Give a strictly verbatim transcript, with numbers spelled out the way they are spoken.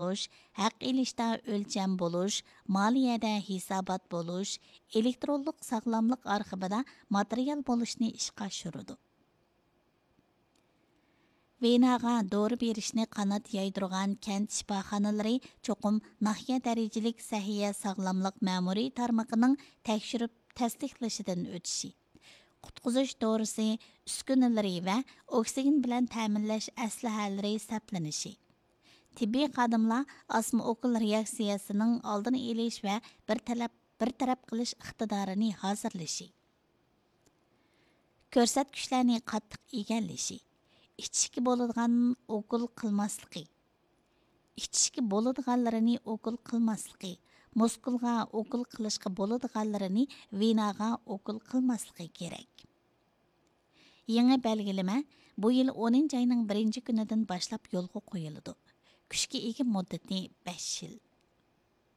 بولۇش، ھەق ئېلىشتا ئۆلچەم بولۇش، مالىيەدە ھېسابات بولۇش، ئېلېكترونلۇق ساغلاملىق ئارخىپىدا ماتېرىيال بولۇشنى ئىشقا ئاشۇرىدۇ. ۋېناغا دورا بېرىشنى قانات يايدۇرغان كەنت شىپاخانىلىرى چوقۇم ناھىيە دەرىجىلىك سەھىيە ساغلاملىق مەمۇرىي تارمىقىنىڭ تەكشۈرۈپ تەستىقلىشىدىن ئۆتۈشى، قۇتقۇزۇش دورىسى ئۈسكۈنىلىرى ۋە ئوكسىگېن بىلەن تەمىنلەش ئەسلىھەلىرى سەپلىنىشى، تېببىي خادىملار ئاسما ئوكۇل رېئاكسىيەسىنىڭ ئالدىنى ئېلىش ۋە بىر تەلەپ، بىر تەرەپ قىلىش ئىقتىدارىنى ھازىرلىشى، كۆرسەتكۈچلەرنى قاتتىق ئىگىلىشى، ئىچىشكە بولىدىغان ئوكۇل قىلماسلىقى، ئىچىشكە بولىدىغانلىرىنى ئوكۇل قىلماسلىقى، مۇسكۇلغا ئوكۇل قىلىشقا بولىدىغانلىرىنى ۋېناغا ئوكۇل قىلماسلىقى كېرەك. يېڭى بەلگىلىمە بۇ يىل ئونىنچى ئاينىڭ بىرىنچى كۈنىدىن باشلاپ يولغا قويۇلىدۇ. كۈچكە ئىگە مۇددىتى بەش يىل.